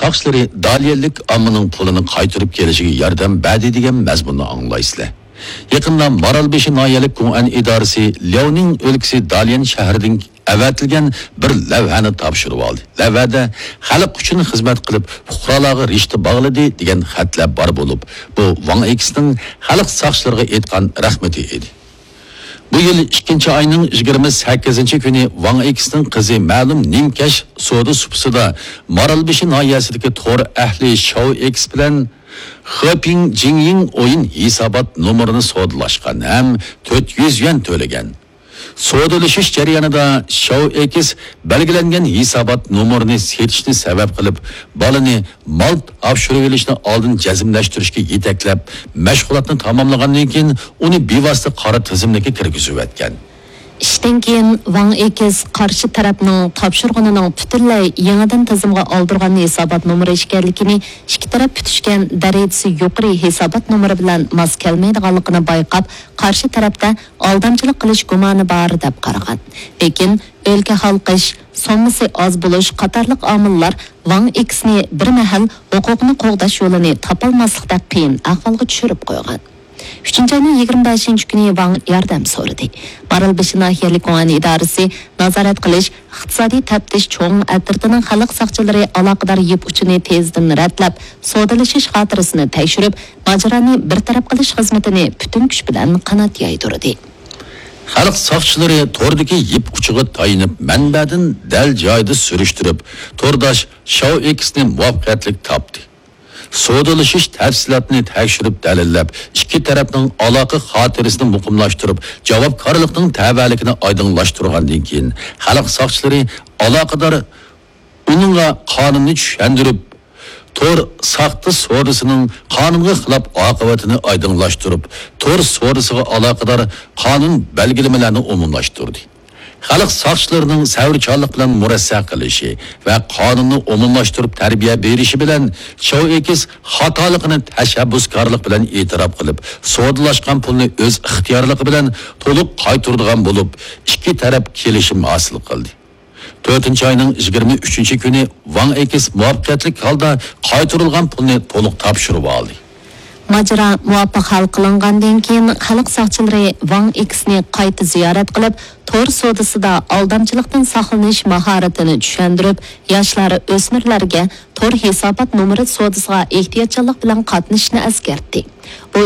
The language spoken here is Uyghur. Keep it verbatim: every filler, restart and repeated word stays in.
ساقچىلىرى داليەنلىك ئاممىنىڭ پۇلىنى قايتۇرۇپ كېلىشىگە ياردەم بەردى دېگەن مەزمۇننى ئاڭلايسىلەر. يېقىندا مارالبېشى ناھىيەلىك گۇڭئەن ئىدارىسى لياۋنىڭ ئۆلكىسى داليەن شەھىرىدىن ئەۋەتىلگەن بىر لەۋھەنى تاپشۇرۇۋالدى. لەۋھەدە خەلق ئۈچۈن خىزمەت قىلىپ، پۇقرالارغا رىشتە باغلىدى دېگەن خەتلەر بار بولۇپ، بۇ ۋاڭ ئېكسنىڭ خەلق ساقچىلىرىغا ئېيتقان رەھمىتى ئىدى. بۇ يىل ئىككىنچى ئاينىڭ يىگىرمە سەككىزىنچى كۈنى ۋاڭ ئېكسنىڭ قىزى مەلۇم نىمكەش سودا سۇپىسىدا مارالبېشى ناھىيەسىدىكى تور ئەھلى شاۋ ئېكس بىلەن خېپىڭ جىڭيىڭ ئويۇن ھېسابات نومۇرىنى سودىلاشقان ھەم تۆت يۈز يۈەن تۆلىگەن. سودىلىشىش جەريانىدا شاۋ ئېكس بەلگىلەنگەن ھېسابات نومۇرىنى سېتىشنى سەۋەب قىلىپ، بالىنى مال تاپشۇرۇۋېلىشنى ئالدىن جەزملەشتۈرۈشكە يېتەكلەپ، مەشغۇلاتنى تاماملىغاندىن كېيىن، ئۇنى بىۋاسىتە قارا تىزىملىككە كىرگۈزۈۋەتكەن. ئىشتىن كېيىن ۋاڭ ئېكس قارشى تەرەپنىڭ تاپشۇرغىنىنىڭ پۈتۈنلەي يېڭىدىن تىزىمغا ئالدۇرغان ھېسابات نومۇرى ئىكەنلىكىنى، ئىككى تەرەپ پۈتۈشكەن دەرىجىسى يۇقىرى ھېسابات نومۇرى بىلەن ماس كەلمەيدىغانلىقىنى بايقاپ، قارشى تەرەپتە ئالدامچىلىق قىلىش گۇمانى بار دەپ قارىغان. لېكىن ئۆلكە ھالقىش، سوممىسى ئاز بولۇش قاتارلىق ئامىللار ۋاڭ ئېكسنى بىر مەھەل ھوقۇقنى قوغداش يولىنى تاپالماسلىقتەك قىيىن ئەھۋالغا چۈشۈرۈپ قويغان. ئۈچىنچى ئاينىڭ يىگىرمە بەشىنچى كۈنى ۋاڭ ياردەم سورىدى. مارالبېشى ناھىيەلىك گۇڭئەن ئىدارىسى نازارەت قىلىش ئىقتىسادىي تەپتىش چوڭ ئەترىتىنىڭ خەلق ساقچىلىرى ئالاقىدار يىپ ئۇچىنى تېزدىن رەتلەپ، سودىلىشىش خاتىرىسىنى تەكشۈرۈپ، ماجىرانى بىر تەرەپ قىلىش خىزمىتىنى پۈتۈن كۈچ بىلەن قانات يايدۇردى. خەلق ساقچىلىرى توردىكى يىپ ئۇچىغا تايىنىپ، مەنبەدىن دەل جايىدا سۈرۈشتۈرۈپ، تورداش شاۋ ئېكسنى مۇۋەپپەقىيەتلىك تاپتى. سودىلىشىش تەپسىلاتىنى تەكشۈرۈپ دەلىللەپ، ئىككى تەرەپنىڭ ئالاقە خاتىرىسىنى مۇقىملاشتۇرۇپ، جاۋابكارلىقنىڭ تەۋەلىكىنى ئايدىڭلاشتۇرغاندىن كېيىن، خەلق ساقچىلىرى ئالاقىدار ئۇنىڭغا قانۇننى چۈشەندۈرۈپ، تور ساختا سودىسىنىڭ قانۇنغا خىلاپ ئاقىۋىتىنى ئايدىڭلاشتۇرۇپ، تور سودىسىغا ئالاقىدار قانۇن بەلگىلىمىلەرنى ئومۇملاشتۇردى. خەلق ساقچىلىرىنىڭ سەۋرچانلىق بىلەن مۇرەسسە قىلىشى ۋە قانۇننى ئومۇملاشتۇرۇپ تەربىيە بېرىشى بىلەن، شاۋ ئېكس خاتالىقىنى تەشەببۇسكارلىق بىلەن ئېتىراپ قىلىپ، سودىلاشقان پۇلنى ئۆز ئىختىيارلىقى بىلەن تولۇق قايتۇرىدىغان بولۇپ، ئىككى تەرەپ كېلىشىم ھاسىل قىلدى. تۆتىنچى ئاينىڭ يىگىرمە ئۈچىنچى كۈنى ۋاڭ ئېكس مۇۋەپپەقىيەتلىك ھالدا قايتۇرۇلغان پۇلنى تولۇق تاپشۇرۇۋالدى. ماجىرا مۇۋاپىق ھەل قىلىنغاندىن كېيىن، خەلق ساقچىلىرى ۋاڭ ئېكسنى قايتا زىيارەت قىلىپ، تور سودىسىدا ئالدامچىلىقتىن ساقلىنىش ماھارىتىنى چۈشەندۈرۈپ، ياشلار، ئۆسمۈرلەرگە تور ھېسابات نومۇرى سودىسىغا ئېھتىياتچانلىق بىلەن قاتنىشىشنى ئەسكەرتتى. بۇ